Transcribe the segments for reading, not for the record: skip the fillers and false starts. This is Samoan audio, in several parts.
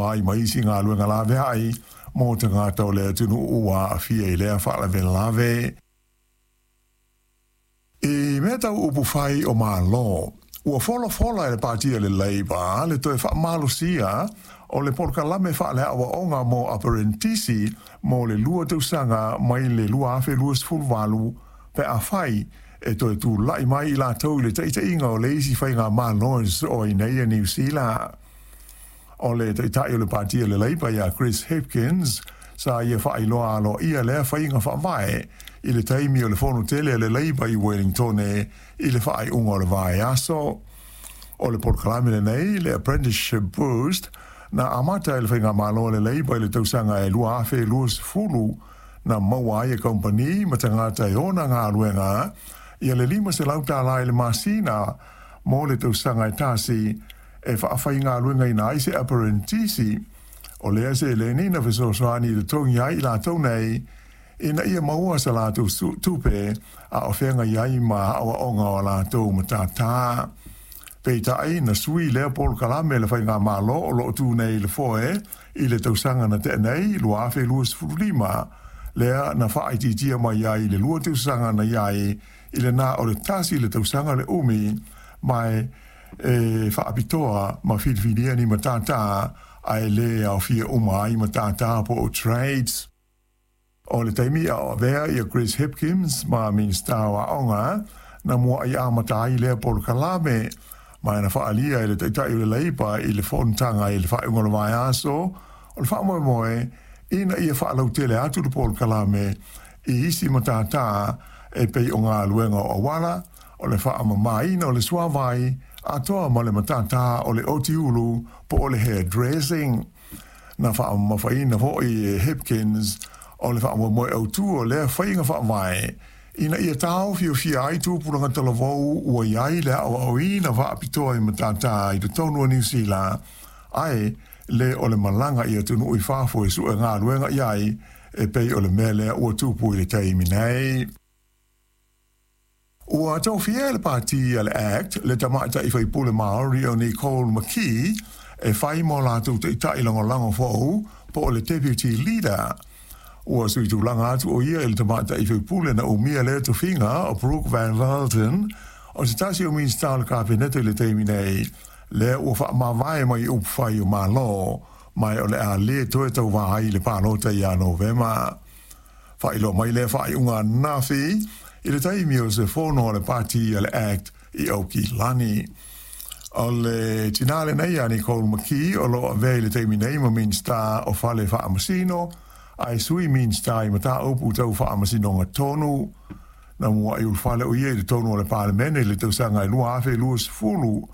Ai ma isi galuega laveai mo tagata o le atunuu ua aafia i lea faalavelave. I mea tau upufai o Malo, ua folafola e le Pati a le Labour le toe faamalosia o le polokalame faale-aoaoga mo aperenitisi mo le 2 tausaga mai le 2028 pe afai e toe tulai mai i latou i le taitaiga o le isi faigamalo e sosoo ai nei a Niu Sila. O le taitai o le Pati a le Labour ia Chris Hipkins sa ia faailoa aloaia lea faiga faavae i le taimi o le fono tele a le Labour i Wellingtone i le faaiuga o le vaiaso. O le polokalame lenei, le Apprenticeship Boost, na amata e le faigamalo a le Labour i le tausaga e 2020, na maua ai e kamupani ma tagata e ona galuega ia le $500 i le masina mo le tausaga e tasi e faafaigaluegaina ai se aperenitisi. O lea seleni na fesoasoani i totogi ai i latou nei ina ia maua sa latou tupe a o feagai ai ma aoaoga o a latou matata. Peitai, na sui lea polokalame e le faigamalo o lo o tu nei i le foe i le tausaga na tea nei, 2025, lea na faaitiitia mai ai i le 2 tausaga na i ai i le na o le 1 le tausaga le umi, ma e faapitoa ma filifilia ni matata ae le aofia uma ai matata po o trades. O le taimi a o avea ia Chris Hipkins ma Minista o Aoga, na muai amata ai lea polokalame, ma na faaalia e le taitai o le Labour i le fonotaga i le faaiuga o le vaiaso o le faamoemoe ina ia faalautele atu le polokalame i isi matata e pei o galuega o auala, o le faamamaina o le suavai, atoa ma le matata o le otiulu po o le hairdressing. Na faamamafaina foi e Hipkins o le faamoemoe autu o lea faiga faavae ina ia taofiofia ai tupulaga talavou ua i ai le aoaoina faapitoa i matata i totonu o Niu Sila, ae le o le malaga i atunuu i fafo e sue galuega i ai e pei o le mea lea ua tupu i le taimi nei. Ua tofia e le Pati a le act le tamaitai faipule Māori o Nicole McKee e fai mo latou taitai lagolago fou po o le Deputy Leader. Ua sui tulaga atu o ia i le tamaitai faipule na umia lea tofiga o Brooke Van Velden, o se tasi o Minista o le Kapeneta i le taimi nei, lea ua faamavae mai i upufai o Malo, ma o le a le toe tauvā ai i le palota ia Novema. Faailoa mai lea faaiuga ananafi i le taimi o se fono a le Pati a le act i Aukilani. O le tinā lenei a Nicole McKee o lo o avea i le taimi nei ma Minista o Fale Faamasino, ae sui Minista i mataupu tau faamasinoga tonu. Na muai ulufale o ia i totonu o le Palemene i le tausaga e 2020,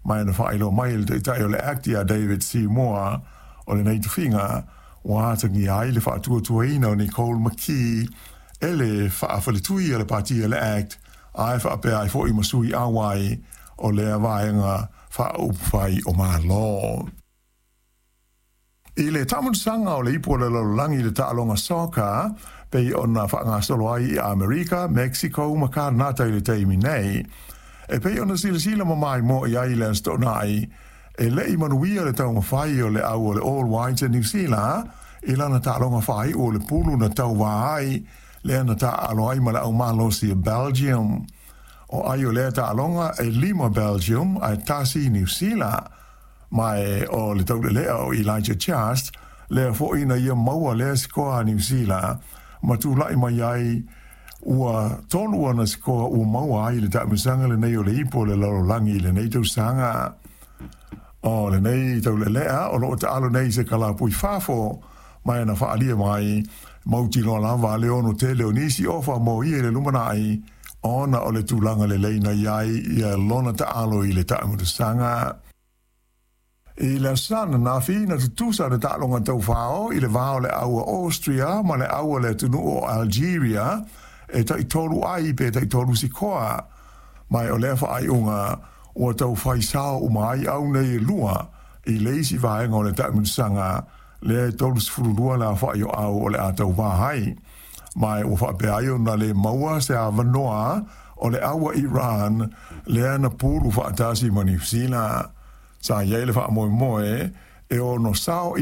ma na faailoa mai e le taitai o le ACT ia David Seymour o lenei tofiga ua atagia ai le faatuatuaina o Nicole McKee e le faafaletui a le Pati a le ACT, ae faapea ai foi ma sui auai o lea vaega faaupufai o Malo. I le taamilosaga o le Ipu o le Lalolagi i le taaloga soccer, pei ona faagasolo ai i Amerika, Mexico ma Kanata i le taimi nei, e pei ona silasila ma maimoa i ai i le Aso Toonai, e le i manuia le taumafai o le au o le All Whites a Niu Sila i lana taaloga faaiu o le pulu na tauvā ai, lea na taaalo ai ma le aumalosi a Belgium. O ai o lea taaloga e 5 Belgium ae 1 Niu Sila. Ma e o le taulelea o Elijah Just, lea foi na ia maua lea sikoa a Niu Sila, ma tulai mai ai ua 3 ana sikoa ua maua ai i le taamilosaga lenei o le Ipu o le Lalolagi i lenei tausaga. O lenei taulelea o loo taalo nei i se kalapu i fafo, ma e na faalia mai mautinoa lava le ono tele o nisi ofa mo ia i le lumanai, ona o le tulaga lelei na i ai ia lona taalo i le taamilosaga. I le aso Sa ananafi, na tutusa le taaloga taufao i le va o le au a Austria ma le au a le atunuu o Algeria e tai-3 ai pe tai-3 sikoa. Ma o lea faaiuga ua taufai sao uma ai au nei e 2 i le isi vaega o le taamilosaga lea e 32 le aofai o au o le a tauvā ai. Ma ua faapea ai ona le maua se avanoa o le au a Iran lea na pulu faatasi ma Niu Sila. Sa i ai le faamoemoe e ono sao